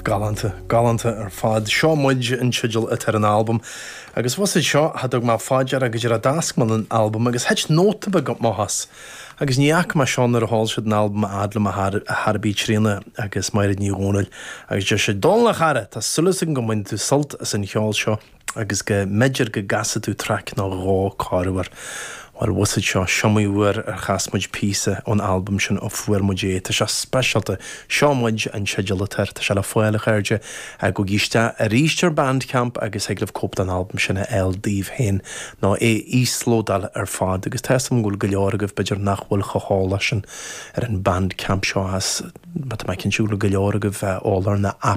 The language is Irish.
Galánta, galánta ar fad. Seo Muid an teideal atá ar an albam. Agus bhfuil fhios a'd seo, cha dtug mé fá deara go dtí a d'fhásc mé an albam agus thit nóta beag amach as. Agus ní fhaca mé seo nuair a sheol siad an albam a fhad le mo chara Tríona agus Máiréad Ní Dhomhnaill agus deir siad, Dónal a chara, tá súil agam go mbainfidh tú sult as an cheol seo. agus go mb'fhéidir go gcasfaidh tú traic nó dhó corruair. Bhuel, bhfuil fhios a'd seo, s'iomaí uair ar chas muid píosa ón albam sin ó fuair muid é. Tá sé speisialta. Seo Muid an teideal atá air. Tá sé le fáil, a chairde. Gabhaigí isteach arís ar Bandcamp agus thig libh cóip den albam sin a fháil daoibh féin nó é a íoslódáil ar fad. Agus tá fhios agam go bhfuil go leor agaibh b'fhéidir nach bhfuil chomh heolach sin ar an Bandcamp seo as, tá mé cinnte go bhfuil go leor agaibh eolach ar na apps.